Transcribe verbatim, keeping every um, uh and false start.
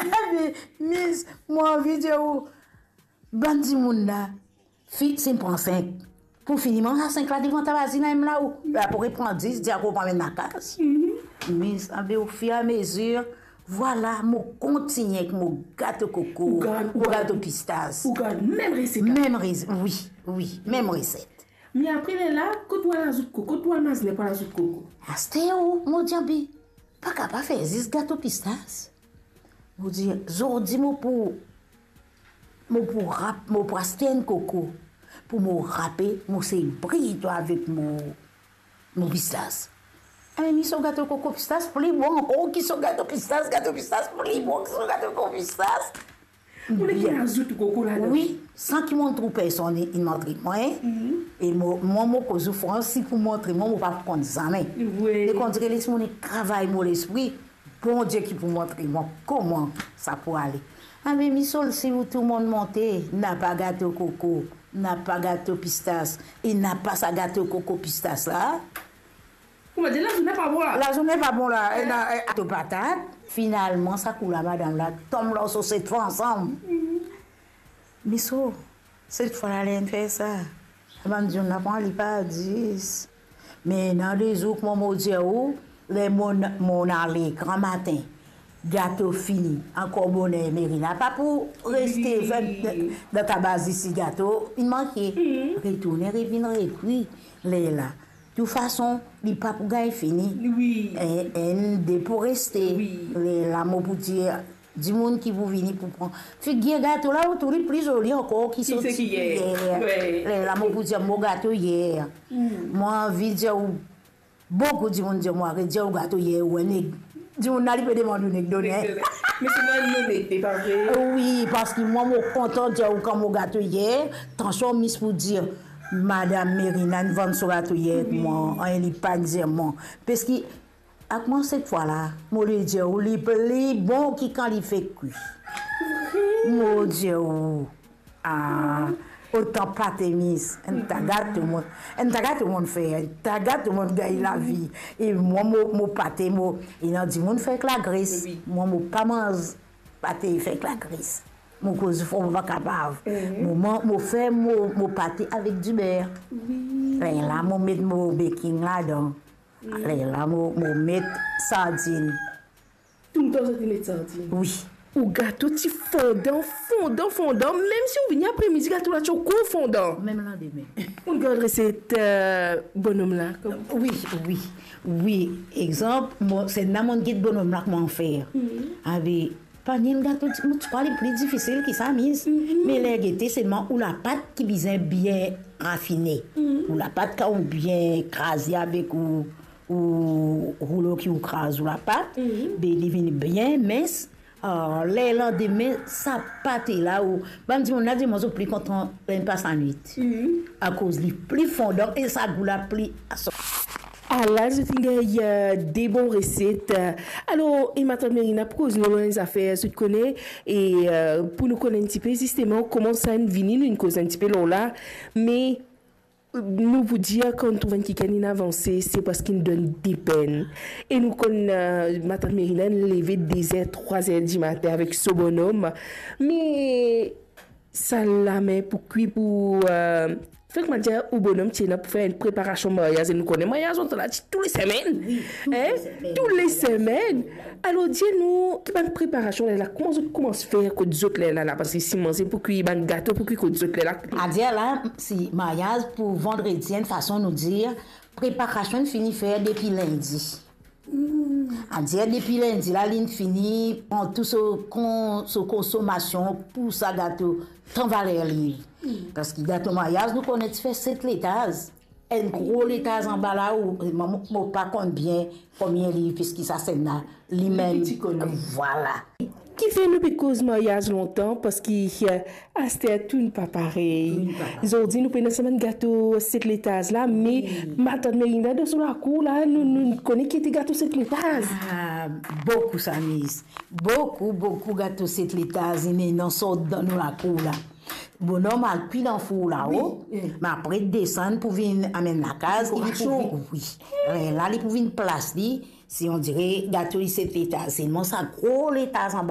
Ebe, Miss, mo anvi dir ou, bann dimoun la, fi, si pran sink. Pou fini manz sa sink la devan ta vazin la, mem la ou, la pou repran dis, dir ankor pa amenn lakaz. Miss, ebe, ofiramezir, vwala, mo kontigne ek mo gato koko, Ou gard, ou mo gard. gato pistas. Ou gard mem reset. Mem reset, wi, wi, mem reset. Me apre lerla, kot ou al azout koko, kot ou al mazle pou al azout koko? Aster ou, mo dir, ebe, pa kapav fer zis gato pistas. Mo dir, zordi mo pou, mo pou rap, mo pou aste enn koko. Pou mo rape, mo sey briy twa avek mo, mo pistas. Ebe, Miss, so gato koko pistas pli bon ankor ki so gato pistas, gato pistas pli bon ki so gato koko pistas. Ou nek Bien. azout koko ladan. Wi, san ki mo trouv personn inn montre mwa, en. Mhm. E mo, mwa, mo koz ou fran, si pou montre mwa, mo pa pou konn zame. Wi. Me kan dir les mo nek travay mo lespri, Bondie ki pou montre mwa kouma sa pou ale. Ebe, Miss, si ou tou monn monte, napa gato koko, napa gato pistas, e napa sa gato koko pistas la, Kouma dir, lazourne pa bon la. Lazourne pa bon la, ena, eh, gato patat. Finalman, sa kou la, madam la tom lor so set fwa ansam. Mhm. Miss, set fwa la, ler inn fer sa, bann dimoun la pran li pa dis. Me ena de zour, kouma mo dir ou, ler mo, mo ale gramatin, gato fini, ankor boner, Merina pa pou reste Wi. fer dan ta baz isi, gato inn manke. Mhm. Retourne, revinn, repri. Lerla, toufason, li pa pou gagn fini. Wi. Enn, enn, de pou reste. Wi. Lerla mo pou dir, dimoun ki pou vini pou pran. Figir gato la, ou trouv li pli zoli ankor ki Ki so seki ti yer. yer. Wi. Lerla mo pou dir, mo gato yer. Mm. Mo anvi dir ou, boukou dimoun dir mwa, redir ou gato yer, ou enn neg. Dimoun la, li pe demann ou nek done. Me se mwa, nou nek, pa vre? Wi, parski mwa, mo kontan dir ou kan mo gato yer, tansion Miss pou dir, madam Merina inn vann so gato yer, Wi. mwa, ann, li pa dir mwa. Parski, ak mwa, set fwa la, mo le dir ou, li pli bon ki kan li fek kwi. Mo dir ou, ah, otan pate, Miss, enn ta gato monn, enn ta gato monn fer, enn ta gato monn gagn lavi. E mwa, mo, mo pate, mo, ena dimoun fer ek lagres. Wi. Mwa, mo pa manz pate fer ek lagres. Mo koz fran, mo pa kapav. Mhm. Mo man-, mo fer mo, mo pate avek diber. Wi. Lerla, mo met mo baking ladan. Wi. Lerla, mo, mo met sardinn. Toultan zot inn met sardinn? Wi. Ou gato ti fondan, fondan, fondan. Mem si ou vini apremidi, gato la ti ankor fondan. Mem landime. Ou gard reset, eh, bonom la, kom Wi, wi, wi. Exanp, mo, se la monn get bonom la kouma fer. Mhm. Ebe, pa ni enn gato, ti, mo ti krwar li pli difisil ki sa, Miss. Mhm. Me ler gete, selman ou lapat ki bizin bien rafine. Mhm. Ou lapat kan ou bien kraze avek ou, ou roulo ki ou kraz ou lapat, Mhm. be li vinn bien mins. Ah, ler landime, sa pate la, ou, bann dimoun la, dimoun zot pli kontan ler inn pas lanwit. Mhm. Akoz li pli fondan e sa gou la pli asor. Ala, zot inn gagn, eh, de bon reset. Alor, e matant Merina pou koz nou lor enn zafer, zot kone, e, eh, pou nou konn enn tipe, zisteman, kouma sa inn vini, nou inn koz enn tipe lor la, me nou pou dir, kan nou trouv enn kikenn inn avanse, se parski inn donn depenn. E nou konn, eh, matant Merina inn leve de zer, trwa zer dimatin avek so bonom. Me sa lame pou kwi, pou, eh, fer, kouma dir, ou bonom ti ena pou fer enn preparasion maryaz. E nou kone maryaz, nou la ti tou le semenn. Wi, tou le Hein? semenn. Tou le semenn. Alor, dir nou, ki bann preparasion lerla, kouma zot koumans fer kot zot lerla la? Parski si manze pou kwi, bann gato pou kwi kot zot lerla. Adir la, si maryaz pou vandredi, enn fason nou dir, preparasion fini fer depi lindi. Hmm. Adir depi lindi la, linn fini pran tou so kon-, so konsomasion pou sa gato, tan valer li. Hmm. Parski gato maryaz, nou kone ti fer set letaz. Enn gro letaz anba la, ou, mo, mo pa konn bien konbien li, piski sa sinn la, li Li mem, piti konn. Vwala. Kifer nou pe koz maryaz lontan, parski, eh, aster tou inn pa parey. Tou inn pa parey. Zordi nou pena sa bann gato set letaz la, me Wi. matant Merina dan so lakour la, nou, nou kone ki ete gato set letaz. Ah, boukou sa, Miss. Boukou, boukou gato set letaz, inn ena sort dan nou lakour la. Bonom al kwi dan four lao, Wi, wi. me apre desann pou vinn amenn lakaz, Pou li pou rason. vin, wi. Eh, la, li pou vinn plas li, si on dire gato li set letaz, selman sa gro letaz anba